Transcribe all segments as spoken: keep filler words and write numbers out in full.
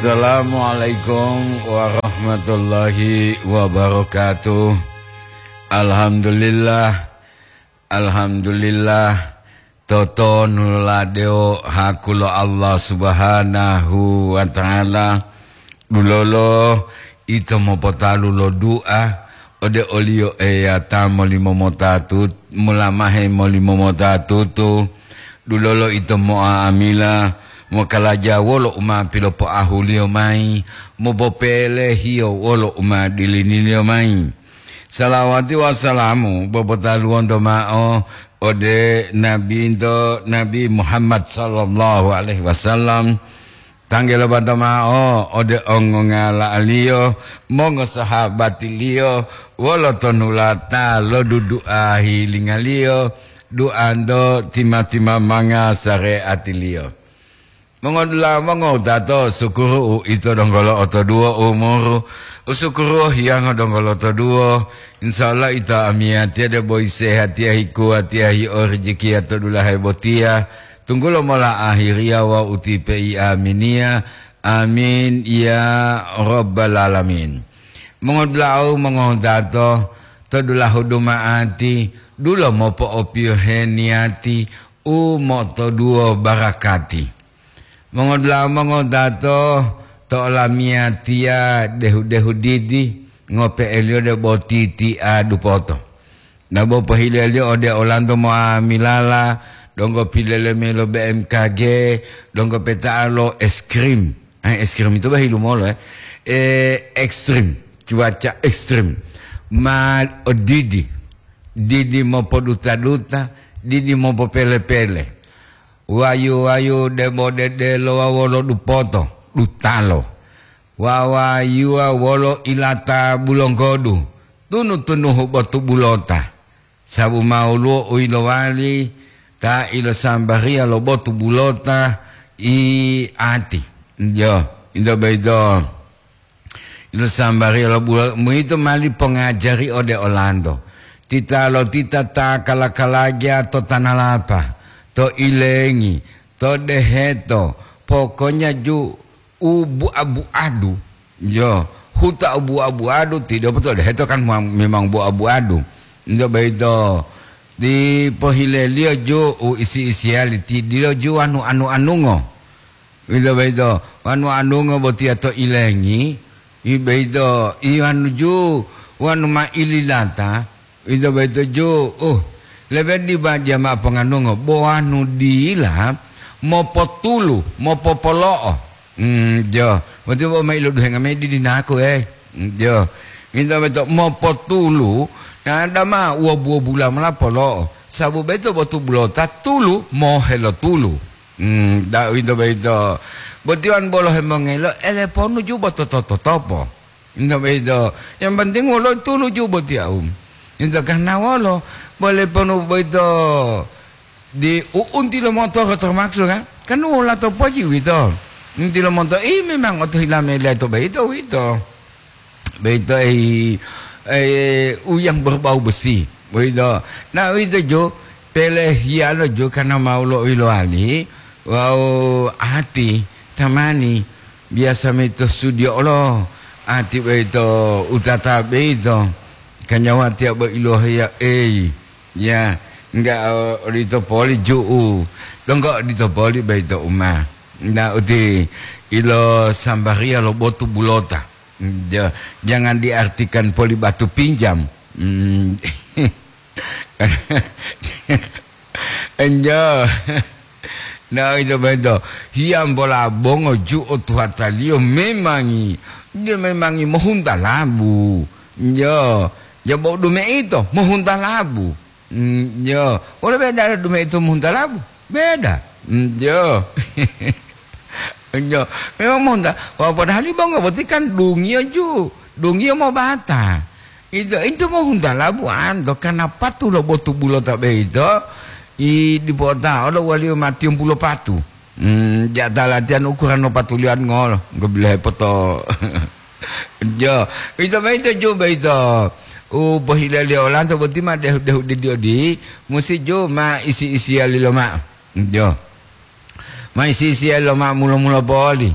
Assalamualaikum warahmatullahi wabarakatuh. Alhamdulillah, alhamdulillah. Totonulade o haku lo Allah Subhanahu wa Ta'ala, dulolo ito mopotalu lo du'a ode o-Liyo Eya ta molimomota tut-, molamahe molimomota tutu. Dulolo ito mo'amila mokalaja wolo u ma pilopoahu-Liyo mayi, mopopelehiyo wolo u ma diliniliyo mayi. Salawati wawu salamu popotaluwonto mao ode Nabinto, Nabi Muhammad sallallahu alaihi wasallam. Tanggelo bato mao ode ongongala'aliyo, mongosahabatiliyo, wolo tonulata lo dudu'a hilingaliyo, du'anto tima-timamanga sare'atiliyo. Mongodula'a mongowutato, sukuru uito donggo lo'otoduwo umuru, usukuruwo hiyango donggo lotoduwo. Insya Allah ito amiyatiya debo isehatiya, hikuwatiya, hi'orijikiya to dulahe botiya, tunggulo mola ahiriya wawu utipe i aminiya. Amin ya rabbal alamin. Mongodula'u mongowutato, to dulahu duma'ati, dulo mopo'opiyohe niyati u motoduwo barakati. Mongodula'a mongowutato, to olamiyatiya dehu-dehu didi, ngope'eliyo debo titi'a dupoto. Dabo pohileliyo ode olanto mo'amilala, donggo pileleme lo B M K G, donggo peta'a lo es krim. Eh, es krim itu bah ilumolo, eh. Eh, ekstrim, cuaca ekstrim. Ma odidi, didi mopoduta-duta, didi mopopele-pele. Wayu-wayu debo dedelo wawu wolo dupoto, dutalo. Wawayuwa wolo ilata bulonggodu, tunu-tunuhu botu bulota. Sabu ma woluwo u yilowali ta ilosambariya lo botu bulota i ati. Jo, ito boyito. Ilosambariya lo bulo-, muito mali pongajari ode olanto. Titalotita ta kala-kalaja to tanalapa, to ilengi, to deheto, pokonya ju u bua-buadu. Yo, huta u bua-buadu, tidepo to deheto kan ma-, memang bua-buadu. Ito boyito, dipohileliyo ju u isi-isiyali, ti dilo ju wanu anu-anungo. Ito boyito, wanu anungo botiya to ilengi, i boyito, i wanu ju, wanu ma ililata, ito boyito ju, uh, lebe diba diya mao ponganungo, bo wanu dila mopotulu, mopopolo'o. Mm, jo, boti bo ma iloduhenga mayi didinaku, eh. Mm, jo, ito boyito mopotulu, na dama wobu-wobula mola polo'o, sabu boyito botu bulota tulu, mohe lo tulu. Hmm, da uwito boyito. Boti wanu bolo hemongelo, eleponu ju bo to-, to-, totopo. Uwito boyito. Yang penting wolo tulu ju boti au. Uwito karena wolo, bo eleponu boyito di u-, unti lo motoro termasuk kan? Kan wolo to poji uwito. Unti lo moto, ih, memang oto hila mele to boyito, uwito. Boyito, eh, eh, u yang berbau besi. Boyito. Nah, uwito ju, pelehiyalo ju karena mau lo ilowali, wawu ati, tamani, biasa mito studio olo, ati boyito utata boyito, kanyawa tiya bo ilohiya, ei, ya, enggak, eh, odito poli ju'u, donggo odito poli boyito uma. Nah, uti ilo sambariya lo botu bulota. Ja-, jangan diartikan poli batu pinjam. Hmm. Enjo. Nah, ito boyito. Hiyambola bongo ju otuhataliyo memangi. Dia memangi mohunta labu. Jo. Jabo dume ito mohunta labu. Mm, jo. Wolo beda dume ito mohunta labu? Beda. Mm, jo. Jo. Memang mohunta. Wah, padahal ibongo boti kan dungiyo ju. Dungiyo mobata. Ito, ito mohunta labu anto karena patu lo botu bulota boyito. I dipota olo waliyo matiyompulo patu. Hmm, ja ta latihan ukuran lo patulian ngolo. Enggo bilohe poto. Jo, ito boyito ju boyito. U pohilaliyo olanto boti ma dehu-dehu didi odi, musi ju ma isi-isiyali lomao. Jo. Ma isi-isiyali lomao mulo-mulo poli.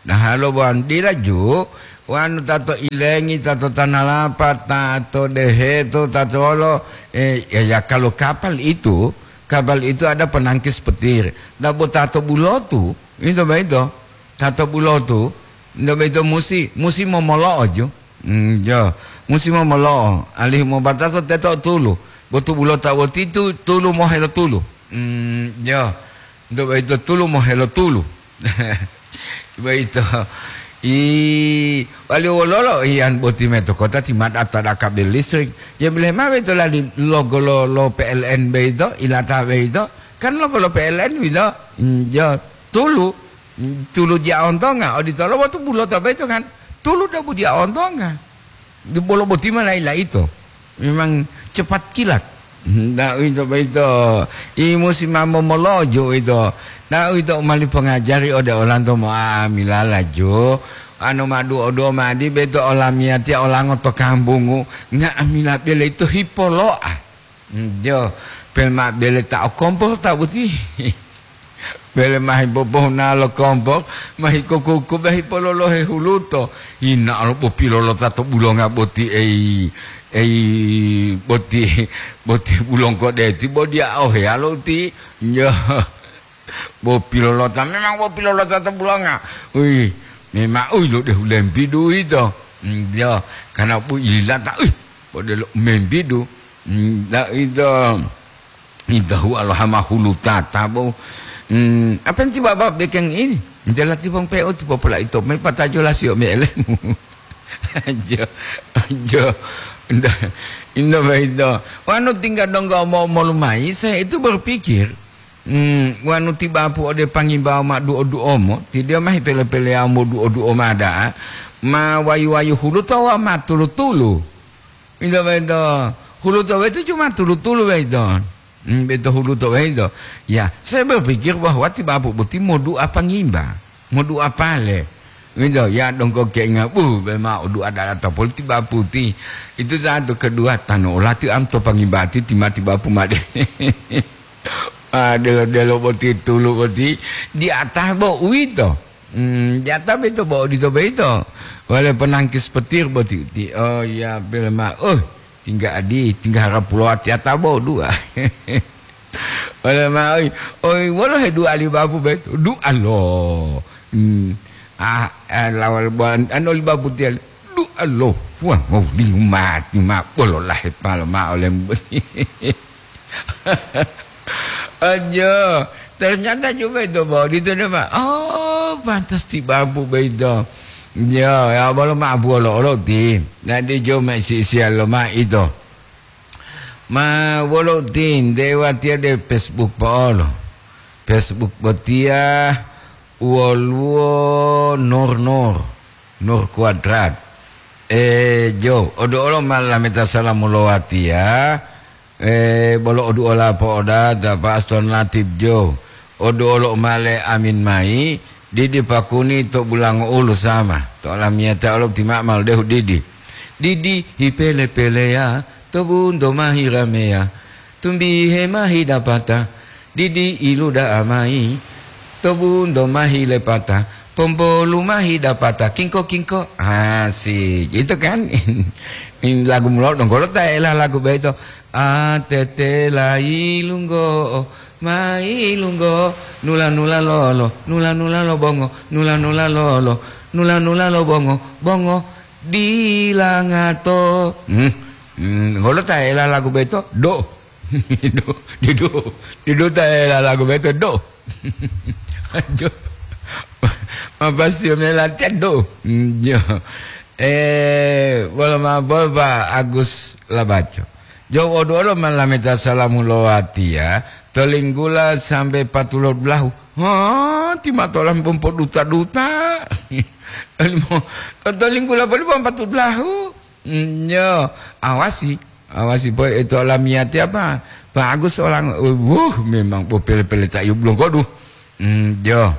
Nah, halo buan dila ju, wanu tato ilengi, tato tanalapa, tato deheto, tato olo, eh, ya, ya, kalau kapal itu, kapal itu ada penangkis petir. Dabo tato bulotu, itu ba itu. Tato bulotu, itu ba itu musi, musi momolo'o ju. Hmm, jo, musi momolo'o, alihu mobatato teto tulu. Botu bulota botitu, tulu mohelo tulu. Hmm, jo, itu ba itu tulu mohelo tulu. Boyito. I, wali wololo iyan boti mayi to kota ti ma data da kabel listrik. Ya, bele ma boyito lali logo lo, lo P L N boyito, ilata boyito. Kan logo lo P L N boyito. Mm, ya, tulu. Mm, tulu dia ontonga. Oditolo botu bulota boyito kan. Tulu dabu dia ontonga. Bolo boti ma laila ito. Memang cepat kilat. Nda uwito boyito, i musi ma momolojo uwito. Nda uwito u mali pongajari ode olanto mo'amilala jo. Ano ma duo-duo madi beto olamiyatiya olango to kambungu, nga'amila bele ito hipolo'a. Jo, pel ma bele ta o kompor ta boti. Bele ma hipopohuna lo kompor, ma hikokoko, ma hipololohe huluto. Yinaalo bo pilolota to bulonga boti, ei, ei, boti, boti bulongko deti, bo dia oheyalo uti. Yo. Bo pilolota, memang bo pilolota to bulonga. Ui, memang, ui, lo dehu lembidu ito. Mm, yo, karena bu ilata, ui, bo delo membidu. Mm, da ito. Idahu alohama hulu tata bo. Hmm, apa enti baba bekeng ini? Jala tipong pe'o tipo pola ito me patajo lasio me elemu. Jo, jo. Inda, inda ba ito. Wanu tinggal donggo mo, molumayi, saya itu berpikir, hmm, wanu tibapu ode pangimbau ma duo-duomo, ti dia mahi pele-peleya mo duo-duo mada, ma wayu-wayu hulu tawa ma tulu-tulu. Ito boyito, huluto boyito cuma tulu-tulu boyito. Hmm, boyito huluto boyito. Ya, saya berpikir bahwa ti bapu boti modu'a pangimba, modu'a pale. Ito, ya dongko keinga, buh, bema odu'a dala topol ti bapu ti. Itu satu, kedua, tanu olati am to pangimba ti timati bapu made. Ah, delo-delo boti tulu boti, di atah bo uwito. Hmm, jata boyito bo odito boyito. Wale penangkis petir boti uti. Oh, iya, bele ma. Oh, tingga adi, tingga harapulo atiyata bo dua. Wale ma, oi, oi, wolo he dua li bapu boyito? Dua lo. Hmm. Ah, ah, lawal bo an-, anu li bapu tiya. Dua lo. Wah, mau lingu mati ma, bolo lahe palo ma olem. Aja, ternyata cuma itu bawa di itu, Pak. Oh, pantas ti babu begitu. Ya, ya, bolo ma buolo olo ti. Nanti jo ma isi-isian lo ma itu. Ma wolo ti, dewa tiade Facebook pa olo. Facebook botia woluwo Nur Nur, Nur Kuadrat. E, jo, odo olo ma lameta salamu lo watiya. E, bolo oduola po'odata pa Aston Latib jo. Oduolo male amin mayi, didi pakuni to bulango ulu sama. To olamiyata olo ti ma'mal dehu didi. Didi hipele-peleya, to bunto mahi rameya. Tumbihe mahi dapata, didi iluda'a mayi. To bunto mahi lepata, pompolu mahi dapata, kingko-kingko. Asik, itu kan. Ini lagu mulou donggo lo ta ela lagu beto. A tete layi lunggo'o, mayi lunggo'o, nula-nula lolo, nula-nula lo bongo, nula-nula lolo, nula-nula lo bongo, bongo dila ngato. Hmm, hmm, ngolo ta ela lagu beto? Do. Didu, didu, didu ta ela lagu beto, do. Aduh. Ma pasti me latihan, do. Hmm, jo. Eh, bolo ma bol, Pak Agus Labaco. Jauh odo-odo ma lameta salamu lo watiya, to linggula sambe patulo dulahu. Ha, ti matolam pompo duta-duta. Limo, to linggula poli pompa dulahu. Mm, yo, awasi, awasi po ito lamiyati apa? Pak Agus olang, wuh, memang po pele-pele ta yub longgodu. Mm, yo.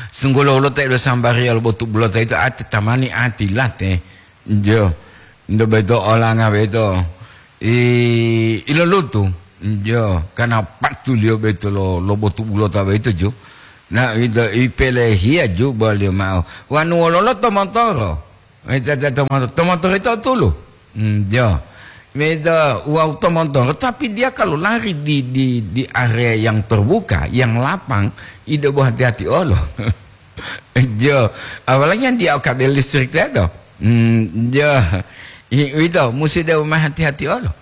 Sungguh lo ulo ta ilo sambari alo botu bulo ta ito ati tamani ati late. Jo. Ndo beto olanga beto. I, ilo lutu. Jo. Karena patuliyo beto lo, lo botu bulo ta beto jo. Na ito ipelehiya juboliyo ma'o. Wanu wololo tomotoro? Ito, ito tomotoro, tomotoro ito tulu. Hmm, jo. Ito wawu tomotoro, tapi dia kalau lari di, di, di area yang terbuka, yang lapang, ito bo hati-hati olo. Jo. Apalagi yang dia O K B listrik teto. Hmm, jo. I, ito, musi debo ma hati-hati olo.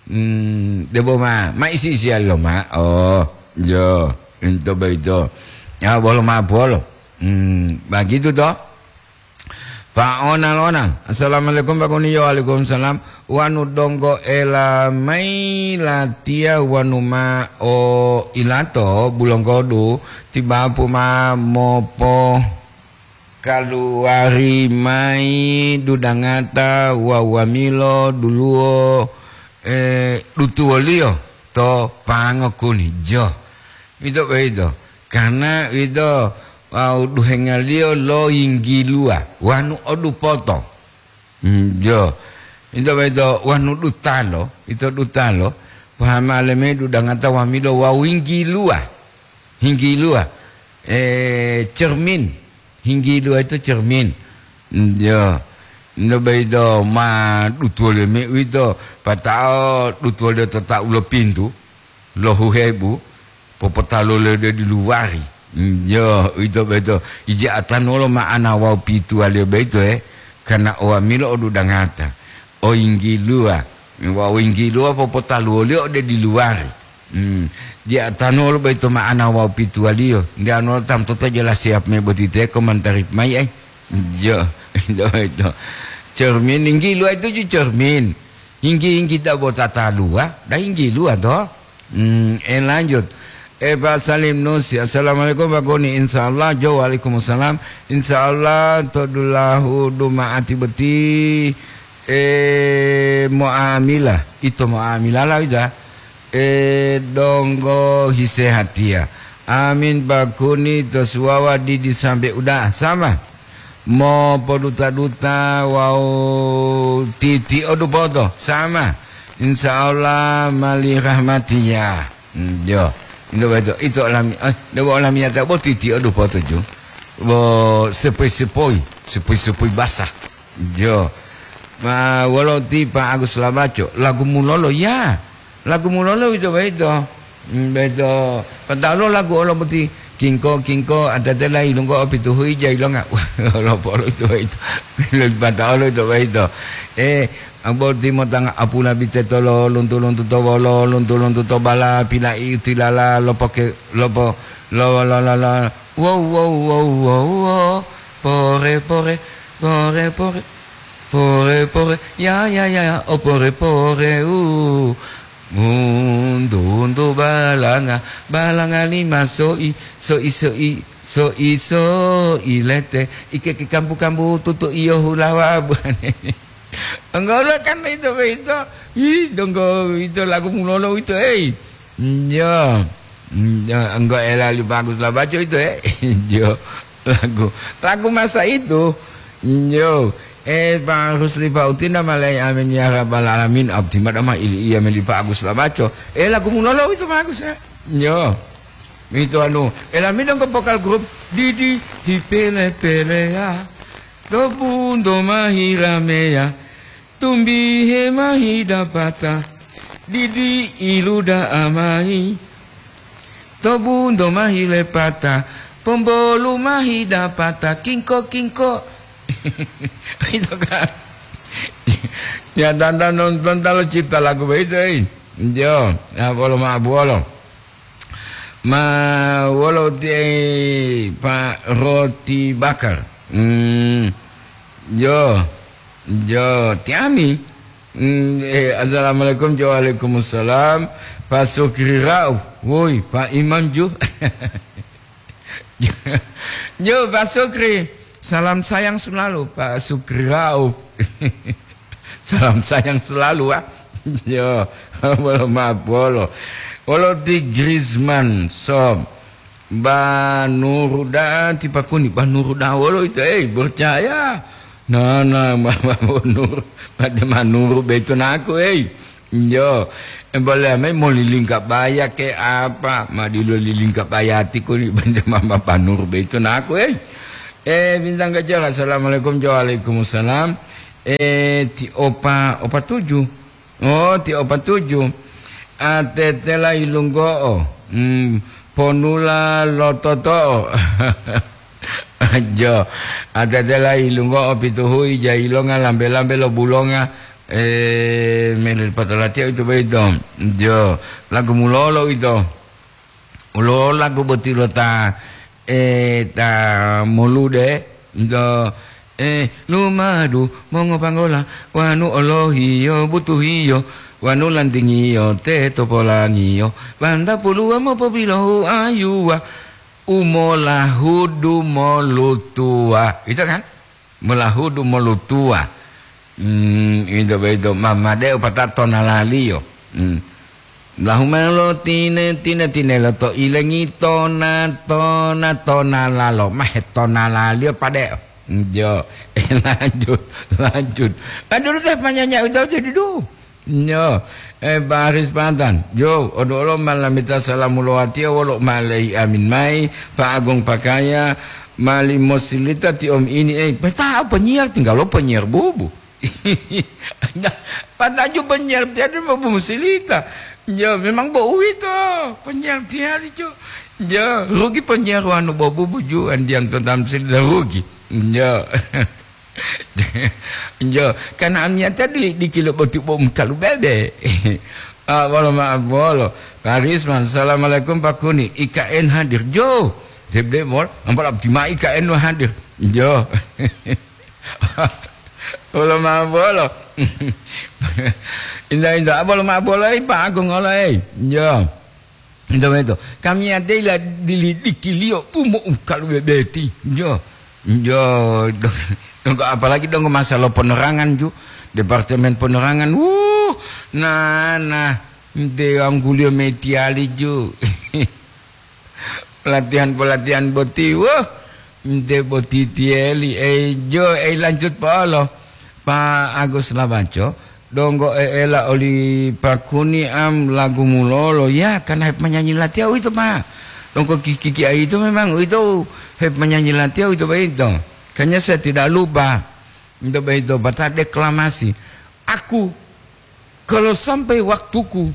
Hmm, debo ma, ma isi-isiya loma. Oh, jo, ito boyito. Ya, bolo ma polo. Hmm, begitu to. Pak Onal, Onal. Assalamualaikum, Pak Kuniyo. Waalaikumsalam. Wanu donggo ela mai latiya wanu ma o ilato bulonggodu tibapu ma mopo kaluwari mayi dudangata wawu wamilo duluwo, eh, dutuwoliyo to pango kuni. Jo. Ito boyito. Karna ito wawu duhengaliyo lo yinggiluwa wanu o dupoto. Mm, jo. Ito boyito wanu dutalo, ito dutalo, pahamale mayi dudangata wamilo wawu yinggiluwa. Hinggiluwa, eh, cermin. Hinggiluwa itu cermin. Mm, jo. Ito boyito ma dutuwoliyo mayi uwito, pata'o dutuwoliyo to tau lo pintu, lo huhebu, popotaluwoliyo ode diluwari. Mm, jo, uwito boyito. Ija atanu wolo ma'ana wawu pituwaliyo boyito, eh, karna o wamilo o dudangata, o yinggiluwa, wawu yinggiluwa popotaluwoliyo ode diluwari. Hmm. Dia tanu wolo boyito ma'ana wawu pituwaliyo. Nde anu wolo tamtoto jelas siap me boti teko mantarip mayi, ai. Jo, jo, jo. Cermin, yinggiluwa itu ju cermin. Yinggi-yinggi da bo tataluwa, da yinggiluwa to. Hmm, eh, lanjut. Eh, Pak Salim Nusi, assalamualaikum, Pak Goni. Insya Allah, jo, waalaikumsalam. Insya Allah, to dulahu duma'ati boti, eh, muamila. Ito muamila la wita. Eh, donggo hisehatiya. Amin, Pak Kuni, to suwawa didi sambe uda'a. Sama. Mopoduta-duta wawu titi'o dupoto. Sama. Insya Allah mali rahmatiya. Hmm, jo. Ito boyito, ito olami-, eh, debo olamiyata bo titi'o dupoto ju. Bo sepoi-sepoi, sepoi-sepoi basah. Jo. Ma wolo ti Pak Agus Labaco, lagu mulolo ya. Lagu mulolo ito boyito. Hmm, boyito. Pata'o lo lagu olo boti, kingko, kingko, atate la ilunggo opituhu ija ilonga. Olo polo ito boyito. Pata'o lo ito boyito. Eh, Boti motanga apula bite tolo, luntu-luntu to wolo, luntu-luntu to bala, pila'i tilala, lopoke, lopo, lo, lo, lo, lo, wow, wow, wow, wow, wow, pore, pore, pore, pore, pore, pore, ya, ya, ya, ya, o pore, pore, u. Untu, untu balanga, balanga lima soi, soi, soi, soi, soi lete, ike ke kambu-kambu tutu iyo hulawa buane. Enggak, kan itu, itu. Ih, donggo itu lagu mulolo itu, hei. Iya. Iya, enggak ela li bagus lah baca itu, eh. Iya. Lagu, lagu masa itu. Iya. Eh, Pak Rusli, Pak Utina, malai, amin ya rabbal alamin. Abdi mada mah ili iya meli Pak Agus lah baca. Eh, lagu mulolo itu Pak Agus, ya. Iya. Itu anu, elami donggo vokal grup Didi Hipele-pele ya. To bunto mahi rameya, tumbihe mahi dapata, didi iluda'a mayi. To bunto mahi lepata, pombolu mahi dapata, kingko-kingko. Itu kan. Ya, tanta nonton talo cipta lagu begitu, eh. Jo, ya, bolo ma buolo. Ma wolo ti, Pak, roti bakar? Hmm, jo, jo, tiami. Hmm, eh, assalamualaikum, jo, waalaikumsalam. Pak Sukri Rauf, woi, Pak Imam ju. Jo, Pak Sukri, salam sayang selalu, Pak Sukri Rauf. Salam sayang selalu, ah. Yo, bolo mapolo. Wolo ti Griezmann, sob. Ba nuru da'a ti pakuni, ba nuru da'a wolo ito, eh, percaya. Nah, nah, ba, ba, ba nuru, ba de ma nuru beto naku, eh. Yo, Boleh amai mau lilingka baya ke apa? Ma dilo lilingka bayati kuli bende mama panur beito naku, eh. Eh, Bintang Gajah, assalamualaikum. Waalaikumsalam. Eh, ti opa, opa tujuh. Oh, ti opa tujuh. Atetela ilunggo'o. Hmm, ponula lototo'o. Jo, atetela ilunggo'o pituhui jailonga lambe-lambe lo bulonga, eh, mele patalatia itu boyito. Jo, lagu mulolo ito. Ulo lagu boti lo ta, eh, ta molude, ito, eh, lumadu mongopanggola, wanu olohiyo butuhiyo, wanu lantingiyo teto polangiyo, banta puluwa mopobilohu ayuwa, umolahudu molutuwa. Ito kan? Molahudu molutuwa. Hmm, ito boyito mamade opata tonalaliyo. Hmm. Lahumelo tine, tine, tinelo to ilengi tona, tona, tonalalo. Mahe tonalaliyo pade. Jo, eh, lanjut, lanjut. Aduh, teh panyanya ucau jadi duh. Nyo, eh, Pak Haris Pantan, jo, odo olo malamita salamu lowatiya wolo malehi amin mai, Pak Agung Pakaya, mali mosilita ti om ini, eh, peta'o penyiar, tinggal lo penyiar bubu. Nah, pataju penyiar tiada mau mosilita. Jo, memang bo uwito, penyiar tiada, jo. Jo, rugi penyiar wanu bo bubu ju, andiam to tamsil, rugi. Jo. Jo, karena amiyata dili-, dikilo boti bo mukalu bebe. Ah, bolo maaf bolo. Pak Risman, assalamualaikum Pak Kuni. I K N hadir. Jo, tebde bol, ampal abdi ma I K N lo hadir. Jo. Bolo maaf bolo. Indah, indah, ah, bolo maaf bolo, eh, Pak Agung olo, eh. Jo. Ito, ito. Kami ate ila dilidikiliyo pumo ungkalu bebeti. Jo. Jo. Dong, dong, apalagi dong masalah penerangan ju. Departemen penerangan. Wuh, nah, nah. Nte angguliyo metiyali ju. Pelatihan-pelatihan boti, wuh. Nte boti tiyeli. Eh, jo, eh, lanjut polo. Pak Agus Labaco. Donggo e'ela oli Pakuni am lagu mulolo, ya, karena hep menyanyi latiya uwito, Pak. Donggo kiki-kiki aito memang uwito hep menyanyi latiya uwito boyito. Kayaknya saya tidak lupa. Untuk boyito, baca deklamasi. Aku, kalau sampai waktuku,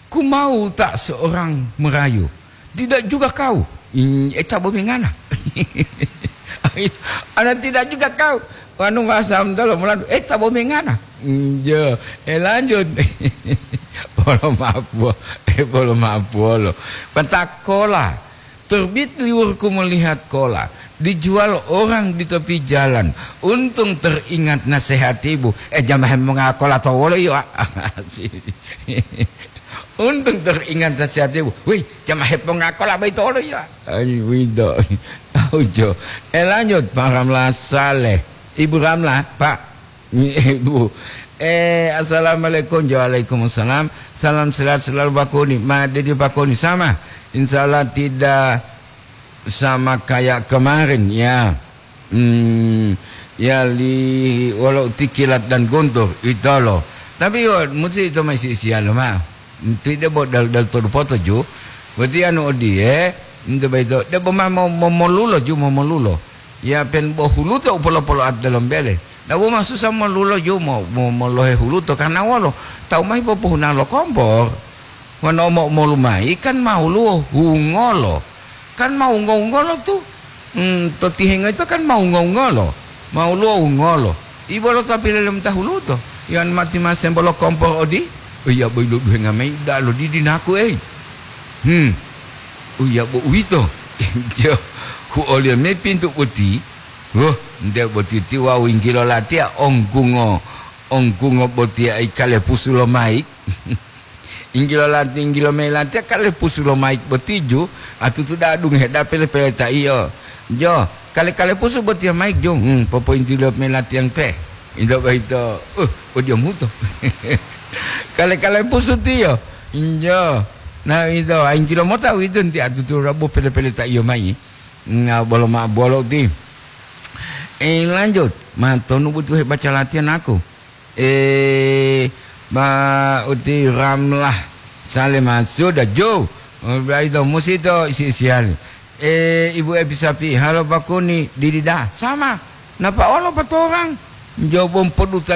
ku mau tak seorang merayu. Tidak juga kau. Hmm, eh, tabo mengana. Ana tidak juga kau. Wanu bahasa Amdalo muladu, eh, tabo mengana. Hmm, jo, eh, lanjut. Bolo maaf, bo-, eh, bolo maaf, bolo. Petakola. Terbit liurku melihat kola. Dijual orang di tepi jalan. Untung teringat nasihat ibu. Eh, jamaah mongakola to wolo yo. Untung teringat nasihat ibu. Wih, jamaah hepongakola bayi tolo ya. Ai, wido. Aujo. Eh, lanjut, Pak Ramlah Saleh. Ibu Ramlah, Pak. Ibu. Eh, assalamualaikum. Waalaikumsalam. Salam sehat selalu, Pak Kuni. Ma, dedi Pak Kuni sama. Insya Allah tidak sama kayak kemarin, ya. Hmm, ya, li wolo tikilat dan guntur, itolo. Tapi yo, musi ito mai si-, siyalo ma. Ti debo dal-, dal todu poto ju. Boti anu odiye, nto baito, debo ma mo-, mo-, molulo ju, mo-, molulo. Ya, pen bo huluto upolo-polo at dalem bele. Dawo masusa molulo ju, mo-, mo-, molohe huluto, karena wolo. Tawu mahi popohuna lo kompor. Wano mo-, molu mayi kan ma woluwo hungolo. Kan ma wungo-wungolo tu. Hmm, to tihengo ito kan ma wungo-wungolo. Ma woluwo wungolo. Ibo lo ta pilele mota huluto. Yan mati ma sembo lo kompor odi. Iya boyi lo duhenga mayi da'a lo didi naku, ei. Hmm. Iya bo uwito. Jo, ku oliyo me pintu boti. Woh, nte boti ti wawu yinggilo latiya ongkungo, ongkungo boti ai kalepusu lo mayi. Inggilo lati-, inggilo mayi latiya kalepusu lo mayik boti ju, atutu da'a dungohe da'a pele-pele ta iyo. Jo, kale-kalepusu botiya mayik ju, hmm, popoyinti lo mayi latiya pe. Ito boyito, uh, odiyamuto. Kale-kalepusu tiyo. Jo. Na ito, inggilo mota uwito nti atutu rabo pele-pele ta iyo mayi. Nga bolo ma bolo ti. Eh, lanjut. Matonu butuhe baca latihan aku. Eh, ba uti Ramlah, Sale maksud da jo. Udah itu musi to isi-isiali. Eh, ibu epi sapi halo pakuni didida. Sama. Napa olo patorang? Jo bom poduta